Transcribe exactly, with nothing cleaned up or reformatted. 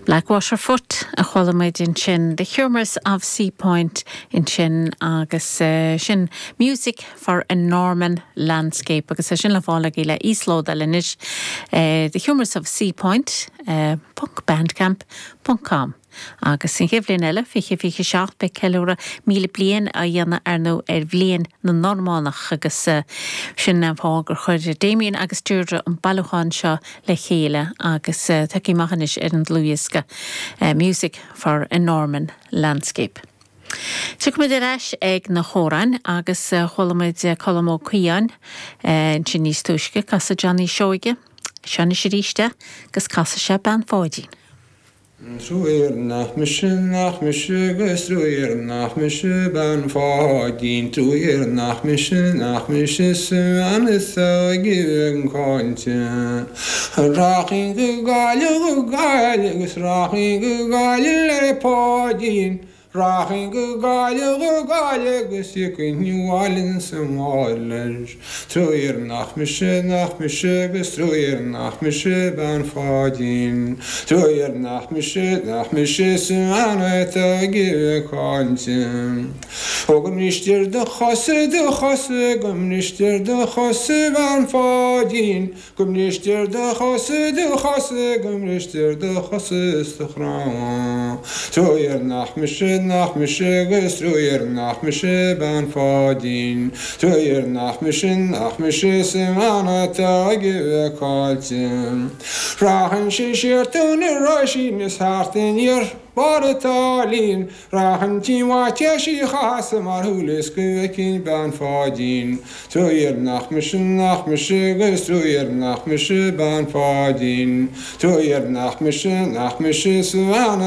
Blackwaterfoot a chuala muid ansin The Humours of Seapoint ansin agus uh, sin Music for a Norman Landscape agus é sin le fáil agaibh le íoslódáil anois uh, The Humours of Seapoint uh, .bandcamp ponc com. Agus an chéad bhliain eile fiche fiche seacht beidh ceiliúradh míle bliain á dhéanamh ar nó ar bhliain na Normánach agus uh, sin an fáth gur chuir Damien agus Deirdre an bailiúchán seo le chéile agus uh, tucaí machanis ar an dlúdhiosca uh, Music for a Norman Landscape. Tiocfaimid ar ais ag na hamhráin agus uh, chuala muid Colm Ó Caodháin uh, sin níos túisce casadh Johnny Seoige, Seanna Siríiste agus casadh sé Bean Pháidín. Truaigh nach mise nach mise agus truaigh nach mise bean Pháidín truaigh nach mise nach mise sa bhean is óige an caillte. Rachainn go Gaillimh go Gaillimh agus rachainn go Gaillimh le Páidín. Rachainn go Gaillimh go Gaillimh agus thiocfainn abhaile sa mhála leis. Truaigh nach mise nach mise agus truaigh nach mise bean Pháidín. Truaigh nach mise nach mise sa bhean atá ag caillte. Ó go mbristear do chosa do chosa go mbristear do chosa bean Pháidín, go mbristear do chosa do chosa go mbristear do chosa sa chrann. Truaigh nach mise nach mise agus truaigh nach mise bean Pháidín. Truaigh nach mise nach mise sa bhean atá ag caillte. Rachainn siar tóin na Roisín is thart aniar barr an tsáilín, Rachainn tí Mhaitiais Uí Chasaidh mar shúil is go bhfeicfinn bean Pháidín. Truaigh nach mise nach mise agus truaigh nach mise bean Pháidín. Truaigh nach mise nach mise sa bhean